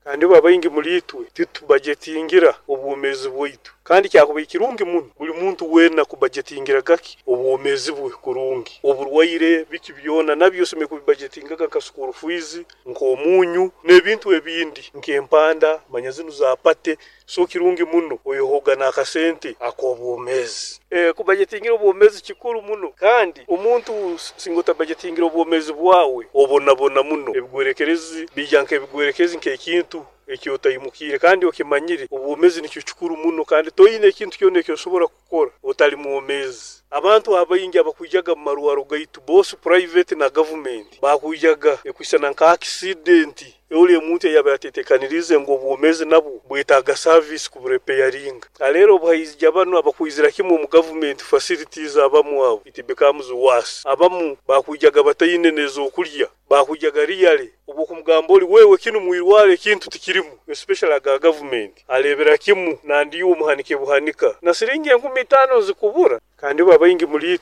Kandi babaingi muri itwe titubajetingira obwomezi bwaitu, kandi kyakuba kirungi muno buli muntu weena kubajetingira gaki obwomezi bwe kurungi. Oburwaire biki byona nabyo osome kubibajetingaga nka school fees, nk'omunyu n'ebintu ebindi nk'empanda manya zinu za pate. So kirungi muno oyehoga n'akasente ak'obwomezi. Kubajetingira obwomezi kikuru muno, kandi omuntu singa otabajetingira obwomezi bwawe obonabona muno. Ebigwerekerezi bija nk'ebigwerekezi nk'ekintu ekyotaimukire kandi okimanyire obwomezi nikyo kikuru muno, kandi toyine ekintu kyona ekyosobora kukora otali mwomezi. Abantu abaingi abakwijaga mu marwaro gaitu both private na government bakwijaga ekwisana nka accident oli omuntu eyaba yatetekanirize ngu obwomezi nabwo bwetaaga service kubureparinga. Aleero obuhaizija banu abakwizira kimwe omu government facilities abamu abo it becomes worse. Abamu bakwijaga bataine n'ezokulya, bakwijaga really obwokumugamba oli wewe kinu mwirwaro ekintu tikirimu, especially aga government arebera kimu nandiyo omuhanike buhanika na siringi 5,000 zikubura. Kandi babaingi muri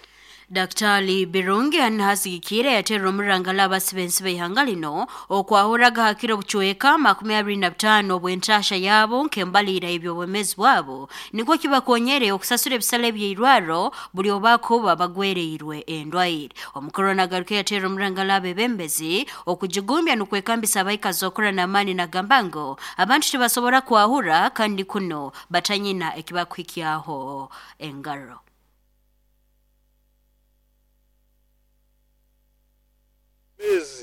Daktari Birungi anahasigikire yaterera omurangala abasibensi b'ihanga lino okwahuraga hakiro bucweka 25 obwentasha yabo nk'embalira eby'obwemezi bwabo nikwo kibakonyere okusasura ebisale by'eirwaro buli obakuba bagwereirwe endwaire. Omukuru nagaruka yaterera omurangala abebembezi okujigumbya n'okwekambisa abaikazi okura n'amaani nagamba ngu abantu tibasobora kwahura kandi kuno batanyina ekibakuhikyaho engaro.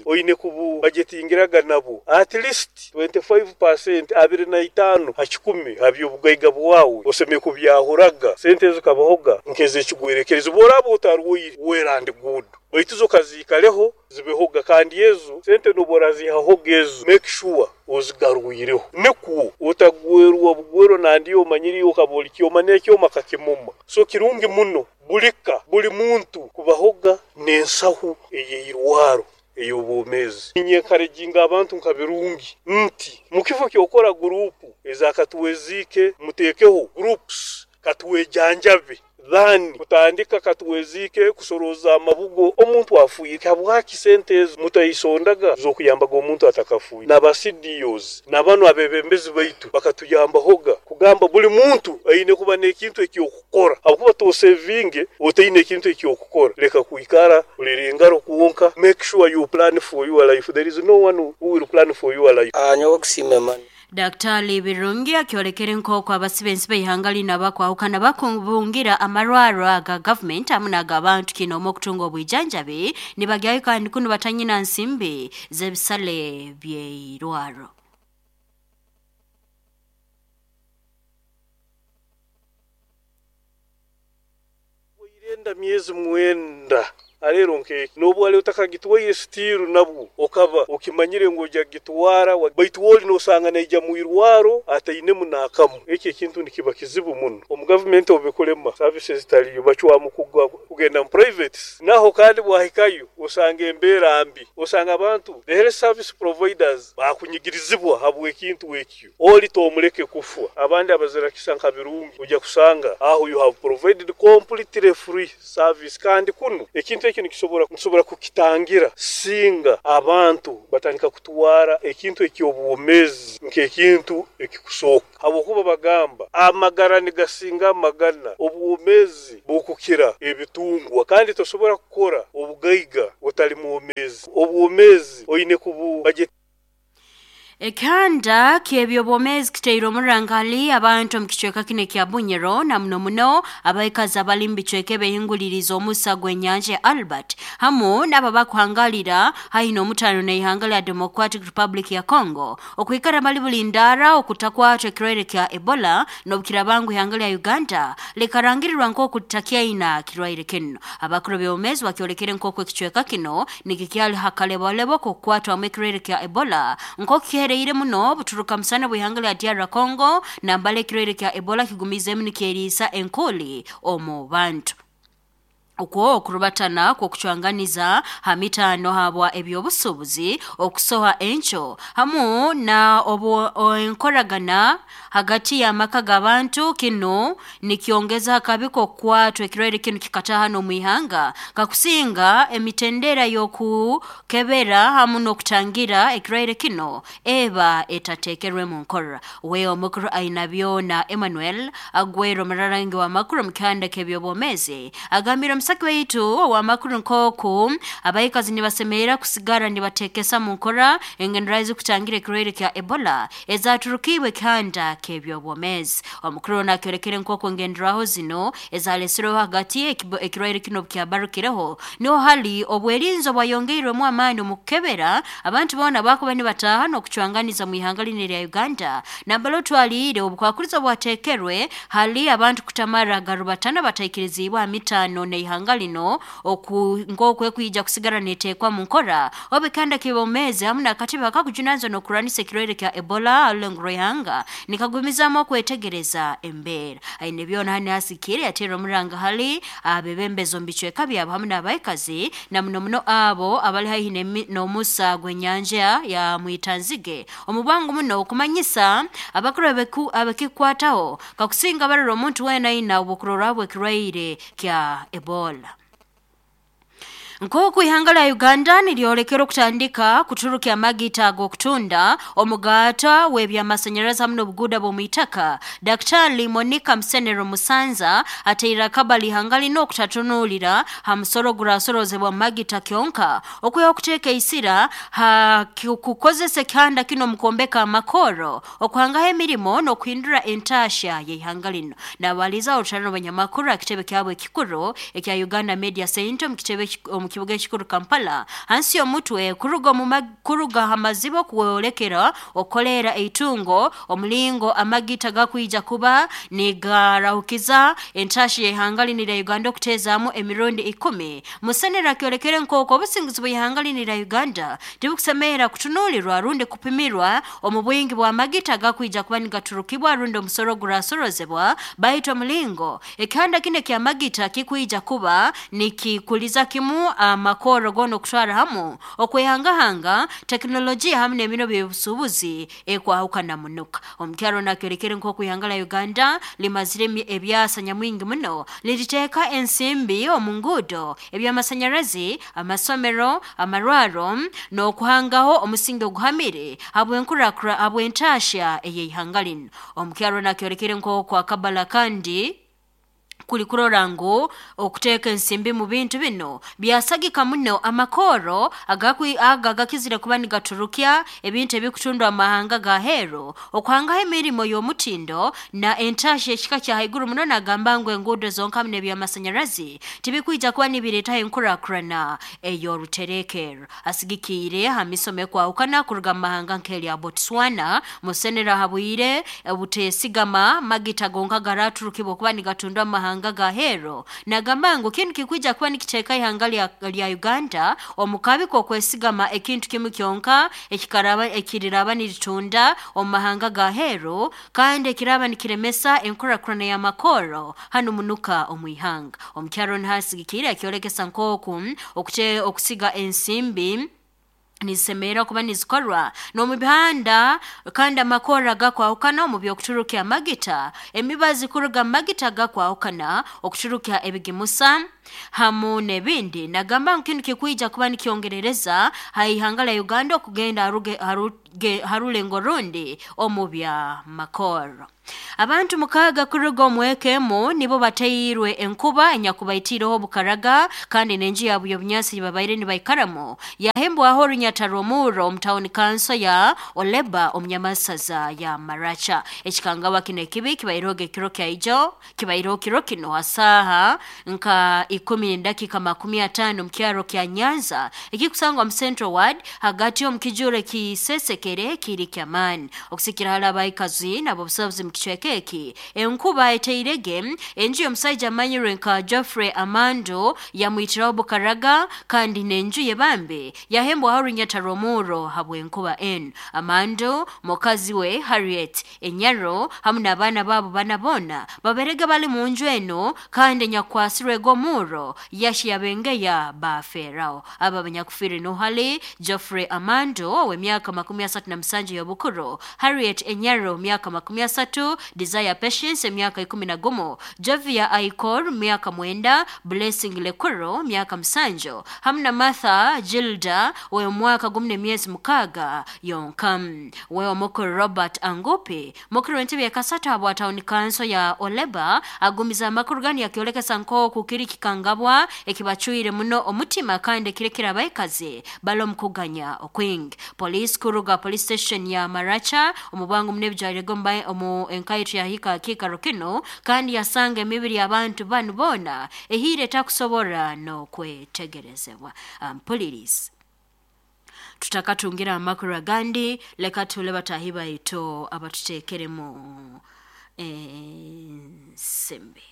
Oine kububajetingiraga nabo at least 25% 25 ha 100 ha by'obugaiga bwawe oseme kubyahuraga. Sente ezo kabahoga nk'ezekigwerekerezi bworaba otarwaire well and good, baitu zo kaziikaleho zibehoga, kandi ezo sente noborazihahoga ezo make sure ozigarwireho nikwo otagwerwa bugwero nandiyo omanyiriyo okaba oli kyoma n'ekyoma kakimoma. So kirungi muno bulika buli muntu kubahoga n'ensahu ey'eirwaro ey'obwomezi. Ninyenkarejinga abantu nka Birungi nti mukifo kyokora gurupu ezakatuweziike muteekeho groups katuwejanjabe than kutandika katuweziike kusoroza amabugo omuntu afuire. Habwaki sente ezo mutaisondaga z'okuyambaga omuntu atakafuire? N'aba CDOs n'abanu abebembezi baitu bakatuyambahoga kugamba buli muntu aine kuba n'ekintu ekyokukora, habwokuba tosevinge otaine ekintu ekyokukora. Leka kwikara olere engaro kwonka, make sure you plan for your life. There is no one who will plan for your life. Nyowe kusiima emani. Daktari Birungi akyolekere nk'oku abasibensi b'ihanga lino abakwahukana bakubungira amarwaro aga government hamu n'ag'abantu kino omu okutunga obwijanjabi nibagyayo kandi kunu batanyina nsimbi z'ebisale by'eirwaro. Irenda myezi 9 alero nkeki nobu ali otakagitwaire stiru nabwo okaba okimanyire ngu ojja kugitwara, baitu woli nosanga naija mwirwaro atainemu n'akamu. Ekyo ekintu nikiba kizibu muno. Omu gavumenti obubikulema services zitaliyo bacwamu kugenda mu private, naho kandi bwahikayo osanga embeera mbi, osanga abantu the health service providers bakunyigirizibwa habw'ekintu ekyo. Oli tomuleke kufwa. Abandi abazirakisa nka Birungi ojja kusanga aho you have provided completely free service, kandi kuno ekintu ekyo nikisobora kukitangira singa abantu batandika kutwara ekintu eky'obwomezi nk'ekintu ekikusooka. Habwokuba bagamba amagara nigasinga amagana, obwomezi bukukira ebitungwa, kandi tosobora kukora obugaiga otali mwomezi. Obwomezi oine kububaje. Ekihanda ky'ebyobwomezi kiteire omurangali abantu omu kicweka kino ekya Bunyoro na muno muno abaikazi abali mu bicweka ebehinguliriza omusa gw'enyanja ya Albert hamu n'abo abakuhangalira haihi n'omutano n'ihanga lya Democratic Republic ya Congo okwikara bali bulindara okutakwatwa ekirwaire kya Ebola n'obukirabangu ihanga lya Uganda likarangirirwa nk'oku litakyaina kirwaire kino. Abakuru b'ebyobwomezi bakyolekere nk'oku ekicweka kino nikikyali hakalebolebo k'okukwatwamu ekirwaire kya Ebola nk'oku kihereire muno buturuka musana bw'ihanga lya DR Congo nambala ekirwaire kya Ebola kigumiizemu nikyeriisa enkuli omu bantu. Okwo okurubatana kw'okucwanganiza ha mitaano habwa ebyobusuubuzi, okusoha enco hamu na enkoragana hagati y'amaka g'abantu. Kinu nikyongeza akabi k'okukwatwa ekirwaire kinu kikataha n'omwihanga kakusinga emitendera y'okukebera hamu n'okutangira ekirwaire kino eba etateekerwe mu nkora. We omukuru Ainabyona Emmanuel agwera omurarangi w'amakuru omu kihanda ky'ebyobwomeezi agambire omusaki waitu ow'amakuru nk'oku abaikazi nibasemerera kusigara nibateekesa mu nkora engenderaho ezikutangira ekirwaire kya Ebola ezaturukiibwe ekihanda ky'ebyobwomeezi. Omukuru ono akyolekere nk'oku engenderaho zino ezalesireho hagati ekirwaire kino obukyabarukireho niho hali obwerinzi obwayongeirwemu amaani omu kukebera abantu boona bakuba nibataaha n'okucwanganiza mu ihanga linu erya Uganda, nambere otwaliire obukwakurizo bwateekerwe hali abantu kutamara garubatana bataikiriziibwe ha mitaano n'ihanga lino nk'oku ekwija kusigara neeteekwa mu nkora obu ekihanda ky'obwomeezi hamu n'akatebe akakujunanizibwa n'okurwanisa ekirwaire kya Ebola ha rulengo rw'ihanga nikagumizaamu okwetegereza embeera. Aine byona hanu asikire yateera omuranga hali abebembezi omu bicweka byabo hamu n'abaikazi na muno muno abo abali haihi n'omusa gw'enyanja ya Mwitanzige omu bwangu muno okumanyisa abakuru abekikwataho kakusinga barora omuntu weena aina obukurorraho bw'ekirwaire kya Ebola. Nk'oku ihanga lya Uganda niryolekera okutandika kuturukya amagita ag'okutunda omugaata w'ebyamasanyarazi hamu n'obuguuda bw'omwitaka, Daktari Monica Musenero Musanza ateire akabali ihanga linu okutatunuulira ha musoro ogurasorozebwa mu magita kyonka, okwihaho okuteeka isira ha kukozesa ekihanda kinu omu kwombeka amakoro, okuhangaho emirimo n'okuhindura entaahya y'ihanga linu. Nabaliza orutano abanyamakuru aha kitebe kyabo ekikuru ekya Uganda Media Centre omu kitebe omu kibuga ekikuru Kampala hansi y'omutwe kuruga ha maziba okwolekera okukoleera eitungo, omulingo amagita gakwija kuba nigarahukiza entaahya y'ihanga linu erya Uganda okuteezaamu emirundi 10. Musenero akyolekere nk'oku obusinguzi bw'ihanga linu erya Uganda tibukusemerra kutunuulirwa rundi kupimirwa omu bwingi bw'amagita agakwija kuba nigaturukibwa rundi omusoro ogurasorozebwa, baitu omulingo ekihanda kinu eky'amagita kikwija kuba nikikuliza kimu amakoro goona okutwara hamu okwehangahanga tekinologiya hamu n'emiro by'obusuubuzi ekwahukana munuka. Omukyaro nakyolekere nk'oku ihanga lya Uganda limazire ebyasa nyamwingi muno niriteeka ensimbi omu nguudo, ebyamasanyarazi, amasomero, amarwaro n'okuhangaho omusingi oguhamire habw'enkurakura habw'entaahya ey'ihanga linu. Omukyaro nakyolekere nk'oku akabala kandi kuli kurora ngu okuteeka ensimbi mu bintu bino byasagika muno amakoro aga agakizire kuba nigaturukya ebintu ebikutundwa mu mahanga g'aheeru, okuhangaho emirimo y'omutindo na entaahya ekika kya haiguru muno. Nagamba ngu enguudo zonka hamu n'ebyamasanyarazi tibikwija kuba nibireetaho enkurakurana ey'oruterekerro. Asigikiire ha misomo ekwahukana kuruga mu mahanga nk'erya Botswana, Musenero ahabwire obuteesigama magita gonka garaturukibwa okuba nigatundwa mu mahanga g'aheeru. Nagamba ngu kinu kikwija kuba nikiteeka ihanga lya Uganda omu kabi k'okwesigama ekintu kimu kyonka ekiriraba niritunda omu mahanga g'aheeru kandi ekiraaba nikiremesa enkurakurana y'amakoro hanu munuka omu ihanga. Omukyaro niho asigikiire akyolekesa nk'oku okusiga ensimbi nizisemerra kuba nizikorwa n'omu bihanda kandi amakoro agakwahukana omu by'okuturukya amagita, emibazi kuruga mu magita agakwahukana, okuturukya ebigimusa hamu n'ebindi. Nagamba ngu kinu kikwija kuba nikyongerereza ha ihanga lya Uganda okugenda ha rulengo rundi omu bya makoro. Abantu 6 kuruga omu eka emu nibo bateirwe enkuba enyakubaitiireho obukaraga kandi n'enju yaabo y'obunyansi ei babaire nibaikaramu yahembwaho orunyata rw'omurro omu tawuni kanso ya Oleba omu nyamasaza ya Maracha. Ekikangabwa kinu ekibi kibaireho ekiro kya ijo kibaireho kiro kino ha saaha nka 10:50 omu kyaro kya Nyanza ekikusangwa mu Central Ward hagati omu kijuro ekisesekere kiri ky'amaani. Okusikira hali abaikazi n'abobusobozi mu kicweka eki, enkuba eteirege enju y'omusaija amanyirwe nka Geoffrey Amando yamwitiraho obukaraga kandi n'enju ye bambi yahembwaho orunyata rw'omurro habw'enkuba enu. Amando, mukazi we Harriet Enyaro hamu n'abaana baabo bana boona babairege bali mu nju enu kandi enyakwasirwege omurro. omurro yashiyabengeya baferaho. Aba banyakufire nohali Geoffrey Amando ow'emyaka 37 y'obukuru, Harriet Enyaro myaka 30, Desire Patience emyaka 11, Jovia Aikor myaka 9, Blessing Lekuro myaka 7, hamwe na Martha Gilda ow'omwaka 16 yonka. Wewe mukuru Robert Angupi mukuru w'entebe ya kasatu habwa town council ya Oleba agumiza amakuru gani yakiolekesa nkoku kiri kikangabwa ekibacwire muno omutima kandi kirekera abaikazi bali omukuganya okwingi. Police kuruga police station ya Maracha omubwangu munebijwairego omu enkaitu yahika kikaro kino kandi yasanga emibiri y'abantu banu boona ehire etakusobora n'okwetegerezebwa. Mpulirizi tutakatungira amakuru agandi, leka tule batahi baitu abatuteekeremu ensimbi.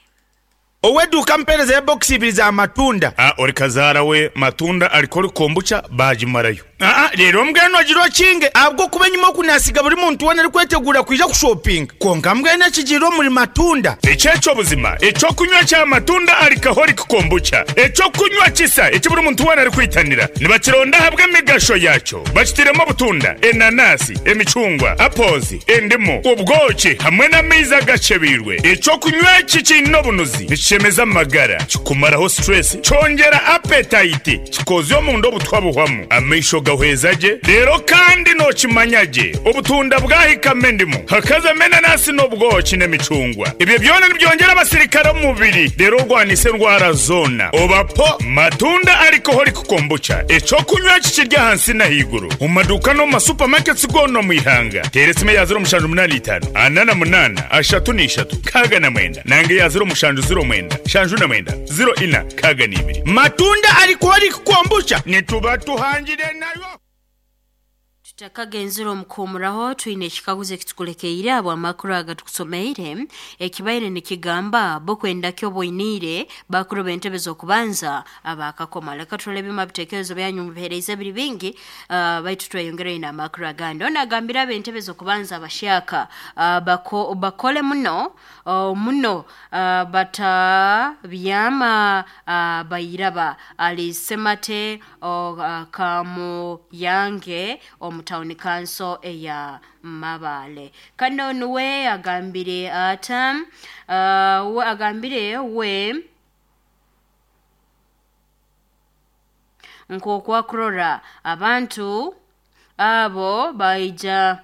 Oweduka mpereza ya box ibiri za matunda. Ori kazaara we matunda aliko kombucha bagimarayo. Rero mbwenu agira okinge ahabwo kuba enyuma okunasiga buri muntu wena arikwetegura kwija kushopinga konka mbwenu ekigirire omuri matunda. Ekyekyo buzima ekyokunywa kya matunda alcoholic kombucha, ekyokunywa kisa eki buri muntu wena arikwitanira nibakironda ahabwa emigasho yakyo, bakitiremu obutunda, enanasi, emicungwa, apples, endimu, obwoki hamwe n'amaizi agacebirwe. Ekyokunywa eki kiine obunuzi, nikishemeza amagara, kikumaraho stress, kyongera appetite, kikozya omunda obutwa buhwamu, amaisho gahweza gye, rero kandi nokimanya gye obutunda bwahikamo endimu, hakazamo enanasi n'obwoki n'emicungwa. Ebyo byona nibyongera abasirikare omu mubiri, rero orwanisa endwara zoona. Obapo matunda alcoholic kombucha, ekyokunywa kikirya ahansi n'ahaiguru omu maduuka n'omu masupamaketi goona omu ihanga. Teera esimu eya 0785 48 33 69 nange ya 0709 79 04 62. Matunda alcoholic kombucha nituba tuhangire nayo. Tutakagenzera omukuumuraho twine ekikaguzo ekitukulekeire abo amakuru agatukusomeire ekibaire nikigamba bokwenda kyo boiniire bakuru b'entebe z'okubanza abakakoma. Leka turole ebima bitekerezo byanyu mubihereize biri bingi, baitu tweyongereyo n'amakuru agandi. Ono agambire ab'entebe z'okubanza abashyaka bakole muno muno batabyama bayiraba ali semate kamuyange omu town council eya Mabale. Kano nuwe agambire ata we agambire we nk'okwakurora abantu abo baija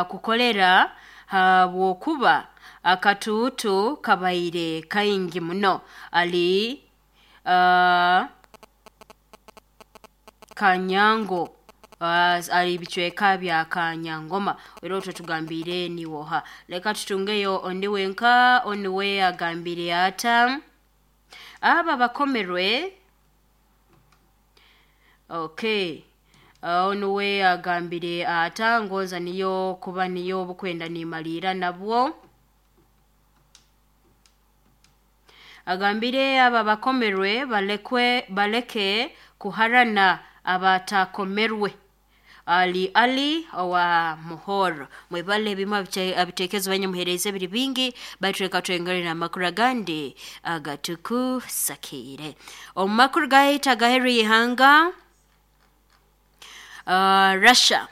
kukolera habwokuba akatuutu kabaire kaingi muno ali Kanyango ali bicweka bya Kanyangoma. Era otwo tugambire niwoha. Leka tutungeyo ondi wenka oniwe agambire ata aba bakomerwe. Okay, onuwe agambire ata ngoza niyo kuba niyo obukwenda nimalira nabwo. Agambire aba bakomerwe baleke kuharana abatakomerwe. Ali Ali owa Muhoro. Mwebale ebimwe abitekezo banye muhereze biri bingi baitu reka twengere na makuru agandi agatukusakire. Omu makuru gahita gaheru ihanga Russia.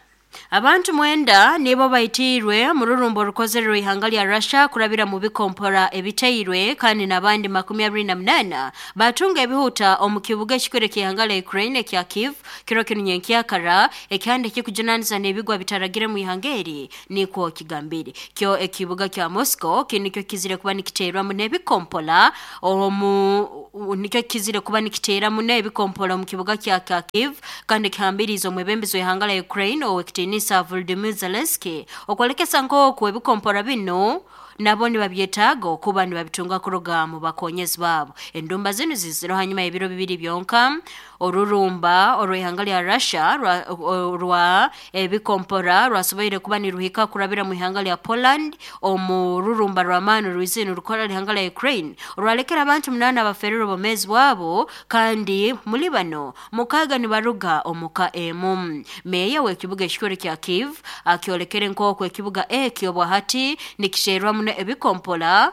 Abantu 9 nibo baitirwe mururumbo rukozerwe ihanga lya Russia kurabira mu bikompora ebiteirwe kandi nabandi 28 batunga ebihuta omu kibuga ekikwereka ihanga lya Ukraine kya Kiev kiro kinu nyenkyakara ekyande kikujunaniza n'ebigwa bitaragire mu ihanga eri nikwo kigambire. Kyo ekibuga kya Moscow kinikyo kizire kuba nikiterwa mu n'ebikompola omu nikyo kizire kuba nikitera mu n'ebikompola mu kibuga kya Kiev kandi kihambiriza omwebembezo ihanga lya Ukraine owekitinisa Volodymyr Zelensky okwolekesa nk'oku ebikompora bino nabo nibabyetaaga okuba nibabitunga kuruga mu bakonyezi baabo. Endumba zinu ziziro hanyuma y'ebiro 2 byonka orurumba orw'ihanga lya Russia rwa ebikompora rwasoboire kuba niruhika kurabira mu ihanga lya Poland omu rurumba rw'amaani rwizinu rukora ihanga lya Ukraine orwalekera abantu 8 abaferire obwomeezi bwabo kandi muri bano 6 nibaruga omuka emu. Meya w'ekibuga ekikuru kya Kiev akyolekere nk'oku ekibuga ekyo bwahati nikisherwa muno ebikompola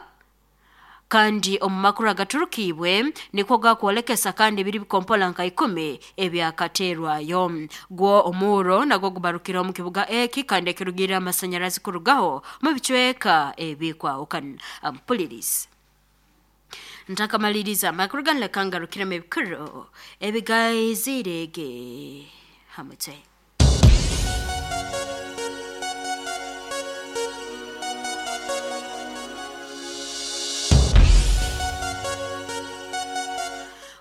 Kandi omu makuru agaturukiibwe nikwo gakwolekesa kandi biri bikompola nka 10 ebyakaterwayo. Gwo omuuro nagwo gubarukira omu kibuga eki kandi ekirugirira amasanyarazi kurugaho mu bicweka ebikwahukana. Ampulirizi ntakamaliriza amakuru ganu, leka ngarukiremu ebikuru ebigaizirege hamutwe.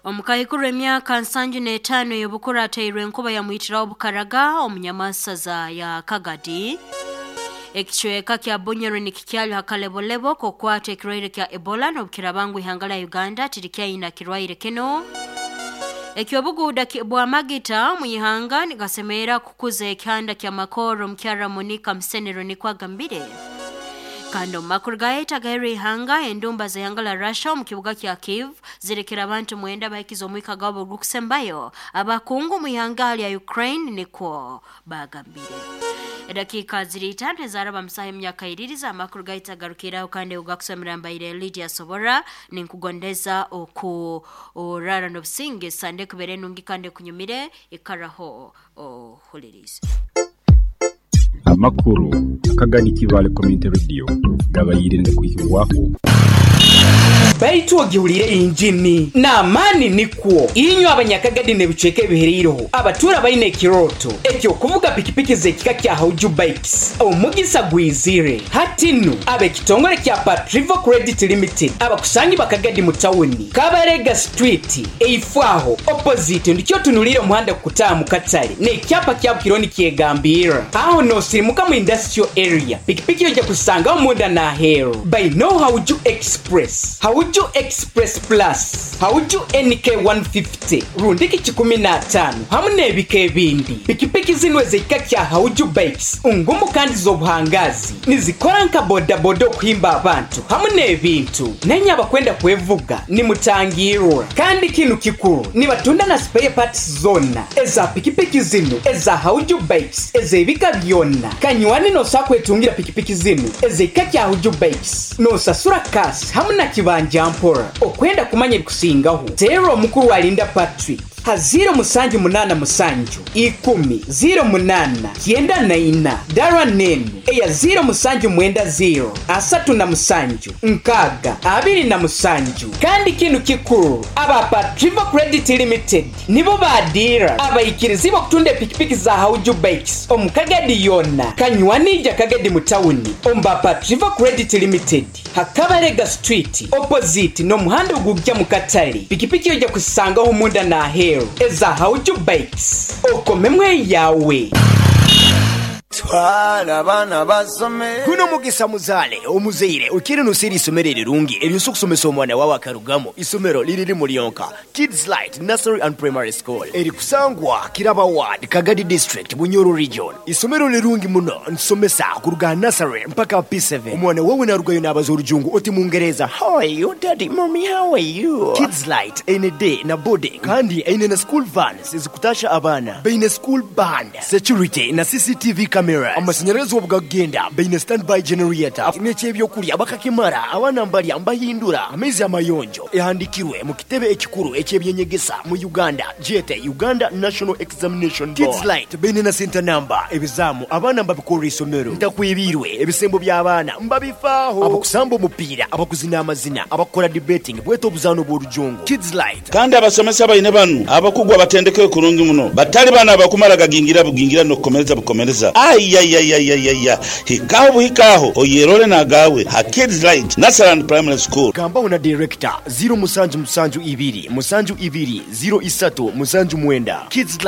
Omukaikuru emyaka 75 ey'obukuru ateirwe enkuba yamwitiraho obukaraga omunyamasaza ya Kagadi. Ekicweka kya Bunyoro nikikyali hakalebolebo kokwata ekirwaire kya Ebola n'obukirabangu ihanga lya Uganda tirikyayina kirwaire kino. Ekyobuguuda bwa magita mu ihanga nigasemerera kukuza ekihanda kya Makoro, omukyara Monica Musenero nikwo agambire. Kandi omu makuru gaeta gaheru ihanga, endumba z'ihanga la Russia omu kibuga kya Kiev zirekera abantu 9 bahikiza omwika gwabo ogukusembayo, abakungu mu ihanga lya Ukraine nikwo bagambire. Edakiika ziri 5 ezaraba musaha emyaka iririza amakuru gaita garukiraho kandi ugakusomera mbaire Lydia Sobora. Ninkugondeza oku orara n'obusinge sande kubere nungi kandi kunyumire ikaraho ohulirize. Amakuru akagani Kibale Community Radio gabayire ngakwihibwaho. Baitu ogihulire injini n'amaani nikwo inywe abanyakagadi n'ebicweka ebihereireho abatuura baine ekirooto eky'okuvuga pikipiki z'ekika kya Hauju Bikes, omugisa gwizire hati nu. Ab'ekitongole kya Patrivo Credit Limited abakusangi bakagadi mu tawuni Kabarega Street eifwaho opposite ndikyo otunuliire omuhanda kukutaaha mu katale n'ekyapa kyabo kiriho nikyegambirra aho n'osirimuka mu industrial area. Pikipiki ojja kuzisangaho munda n'aheeru. Bainoho Hauju Express, Hauju Express Plus, Hauju NK 150 rundiki 15 hamu n'ebika ebindi. Pikipiki zinu ez'ekika kya Hauju Bikes ngumu kandi z'obuhangazi, nizikora nka bodaboda okuhimba abantu hamu n'ebintu. Nenye abakwenda kwevuga nimutangirwa. Kandi kinu kikuru, nibatunda na spare parts zona eza pikipiki zinu eza Hauju Bikes ez'ebika byona. Kanywani nosobola kwetungira pikipiki zinu ez'ekika kya Hauju Bikes nosasura kasi hamu na kibanja mpora. Okwenda kumanya ebikusingaho, teera omukuru Alinda Patrick ha 0787 10 08 94, dara nenu eya 0790 37 6 27. Kandi kinu kikuru, aba Patrivo Credit Limited nibo badira abaikirizi b'okutunda epikipiki za Hauju Bikes omu Kagadi yona. Kanywanija Kagadi mu tawuni omu ba Patrivo Credit Limited Hakabarega Street opposite n'omuhanda ogujja mu katale. Pikipiki ojja kuzisangaho munda n'aheeru eza Hauju Bikes, okomemu eyawe. Twala abaana basome. Guno mugisa muzaale omuzaire okiire noseera isomero erirungi eryosobola okusomesa omwana wawe akarugamu. Isomero liri limu lyonka, Kids Light Nursery and Primary School, eri kusangwa Kiraba Ward, Kagadi District, Bunyoro Region. Isomero lirungi muno, nsomesa kuruga nursery mpaka P7. Omwana wawe narugayo nabaza orujungu oti Mungereza, how are you daddy, mommy, how are you? Kids Light eine day na boarding kandi eine na school vans ezikutasha abaana, baine school band, security na CCTV cameras. Amasanyarazi obugagenda baine standby generator, n'ekyebyokulya bakakimara, abaana mbalya mbahindura, amaizi amayonjo. Ehandikirwe mu kitebe ekikuru ekyebyenyegesa mu Uganda, jete Uganda National Examination Board. Kids Light baine na center number, ebizamu abaana mbabikorera isomero, ntakwibirwe ebisembo by'abaana mbabifaaho, abakusamba omupiira, abakuzina amazina, abakukora debating bweta obuzaano bw'orujungu. Kids Light. Kandi abasomesa baine banu abakugu abatendekere kurungi muno, batali bano abakumara gagingira bugingira n'okukomereza bukomereza. Ayayayayaya, hikaho buhikaho oyerole nagawe ha Kids Light Nursery and Primary School. Gambaho na director 0772 72 03 79. Kids Light.